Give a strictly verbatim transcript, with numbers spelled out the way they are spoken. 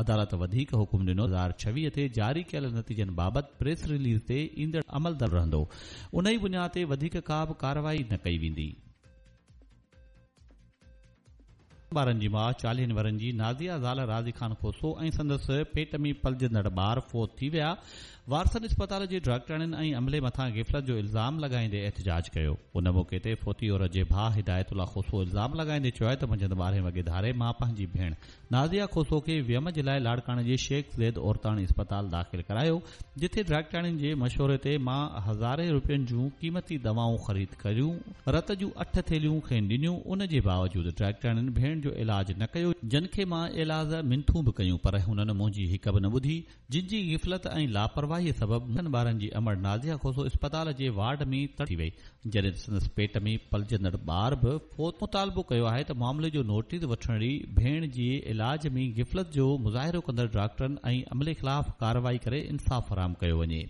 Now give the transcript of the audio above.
عدالت وڌيڪ حڪم ڏنو هزار ڇويهه تي جاري ڪيل نتيجن بابت پريس رليز تي ايندڙ عمل رهندو، ان ئي بنياد تي وڌيڪ ڪا به ڪارروائي نه ڪئي ويندي. ٻارن جي ماءُ چاليهن ورهين جي نازيه زال راضي خان کوسو ۽ سندس پيٽ ۾ پلجندڙ ٻار فوت ٿي ويا. وارثن اسپتال جي ڊاڪٽرن ۽ عملي مٿان غفلت جو الزام لڳائيندي احتجاج ڪيو. ان موقعي تي فوتي عورت جي ڀاءُ هدايت الله کوسو الزام لڳائيندي چيو آهي ته منجهند ٻارهين وڳي ڌاري مان پنهنجي ڀيڻ نازيه کوسو کي ويم جي لاءِ لاڙڪاڻي جي شيخ زيد عورتاڻي اسپتال داخل ڪرايو، جتي ڊاڪٽرن جي مشوري تي مان هزارين روپين جون قيمتي دوائون خريد ڪيون، رت جون اٺ ٿيلهيون کين ڏنيون، ان جي باوجود ڊاڪٽرن ڀيڻ جو علاج نه ڪيو، جن کي مان ايلاز منٿون به ڪيون پر هنن منهنجي هڪ به نه ٻڌي، جن جي غفلت ۽ لاپرواهي سبب اٺن ٻارن جي امڙ نازيه کوسو اسپتال جي وارڊ ۾ تڙپي وئي، جڏهن ته سندس پيٽ ۾ پلجندڙ ٻار به فوت. مطالبو ڪيو آهي ته معاملي جو نوٽيس وٺڻ ڀيڻ جي علاج ۾ غفلت جو مظاهرو ڪندڙ ڊاڪٽرن ۽ عملي خلاف ڪارروائي ڪري انصاف فراهم ڪيو وڃي.